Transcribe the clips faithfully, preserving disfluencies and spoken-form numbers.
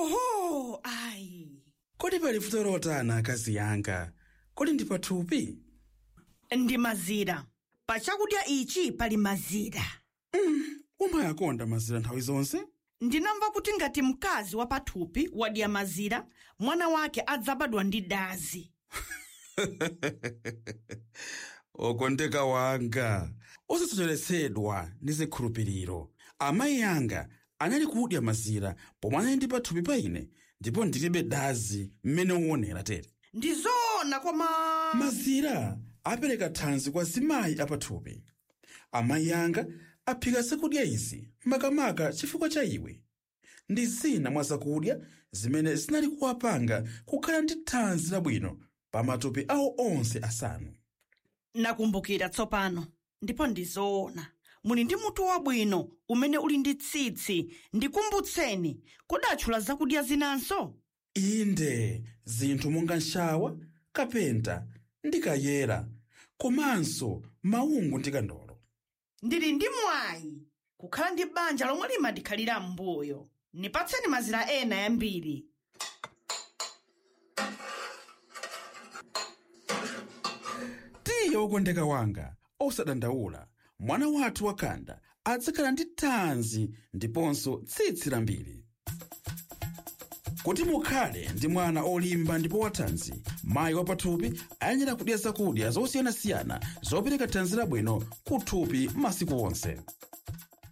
Oho, ayi. Kodi pali vuto lotana, akazi yanga? Kodi ndi pathupi? Ndi mazira. Pa chakudya ichi pali mazira. Umayakonda mazira nthawi zonse? Ndinamva kuti ngati mkazi wa pathupi wadya mazira, mwana wake adzabadwa ndi dazi. Okondeka wanga, osasocheretsedwa ndi zikhulupiriro. Amayi anga anali kudya mazira pomwe anali ndi pathupi pa ine, ndipo ndilibe dazi mmene uonera tere. Ndi zoona, koma mazira apereka thanzi kwa zimayi apathupi. Amayi anga aphika zakudya izi makamaka chifukwa cha iwe. Ndi zina mwa zakudya zimene zinali kuwapanga kukhala ndi thanzi labwino pa matupi awo onse asanu. Nakumbukira tsopano, ndipo ndi zoona. Muli ndi mutu wabwino umene uli ndi tsitsi. Ndikumbutseni, kodatchula zakudya zinanso? Inde, zinthu monga nshawa, kapenta ndi kayera, komanso maungu ndi kandolo. Ndili ndi mwayi kukhala ndi banja lomwe limandikhalira m'mbuyo. Nipatseni mazira ena yambiri. Tiye, wokondeka wanga, osadandaula. Mwana wathu wakhanda adzakhala ndi thanzi ndiponso tsitsi lambiri. Kuti mukhale ndi mwana olimba ndipo wathanzi, mayi wapathupi ayenera kudya zakudya zosiyanasiyana zopereka thanzi labwino kuthupi masiku onse.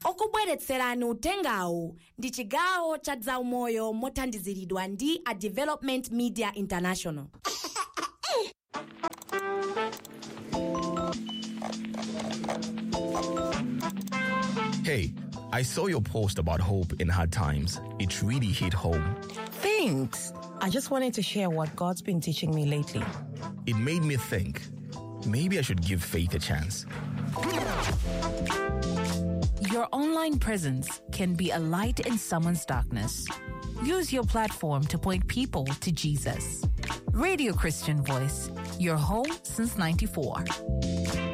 Okubweretserani utengawu ndi chigawo cha zaumoyo mothandiziridwa ndi a Development Media International. Hey, I saw your post about hope in hard times. It really hit home. Thanks. I just wanted to share what God's been teaching me lately. It made me think, maybe I should give faith a chance. Your online presence can be a light in someone's darkness. Use your platform to point people to Jesus. Radio Christian Voice, your home since ninety-four.